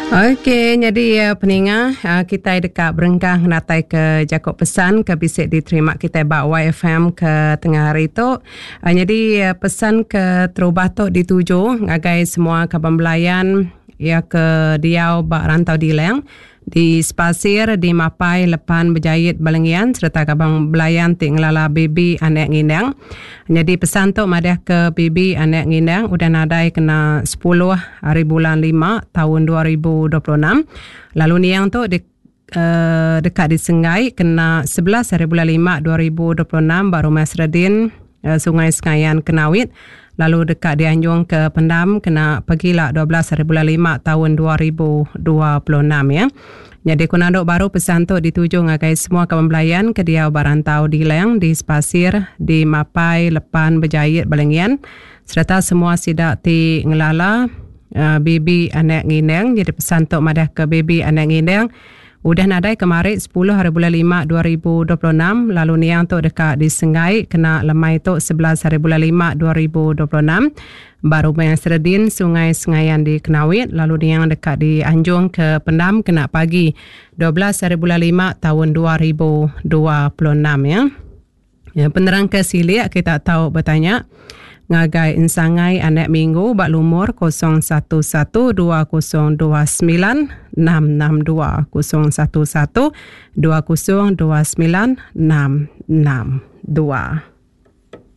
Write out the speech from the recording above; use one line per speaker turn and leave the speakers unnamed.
Okey nyadi peninga kitai deka berengkah ngenatai ke jaku pesan ke bisi diterima kitai ba YFM ke tengah hari tu. Nyadi pesan ke terubah tu dituju ngagai semua kaban belayan iya ke diau ba Rantau Dilang Di Sepasir, di Mapai, Lepan, Bejait, Balengian sereta Kabang Belayan ti ngelala Bibi Anak Ngindang. Nyadi pesan tu madah ke Bibi Anak Ngindang udah nadai kena sepuluh hari bulan lima taun 2026 lalu niang tu di uhh deka disenggai kena 11 hari bulan lima 2026 ba Rumah Seredin Sungai Sengayan Kenawit lalu deka dianjung ke pendam kena pagila 12 hari bulan lima taun 2026 ya. Nyadi ku nandu baru pesan tu dituju ngagai semua kaban belayan ke diau ba rantau Dilang di Sepasir, di Mapai, Lepan, Bejait, Balingian sereta semua sida ti ngelala uh, Bibi Anak Ngindang. Jadi pesan tu madah ke Bibi Anak Ngindang Udah nadai kemari sepuluh hari bulan lima 2026 lalu niang tu deka disenggai kena lemai tu 11 hari bulan lima 2026 ba Rumah Seredin Sungai Sengayan di Kenawit lalu niang deka dianjung ke pendam kena pagi 12 hari bulan lima taun 2026 ya. Ya, penerang ke silik kita tau betanya ngagai Ensangai Anak Minggu ba lumur 011 2029 662 011 2029 662.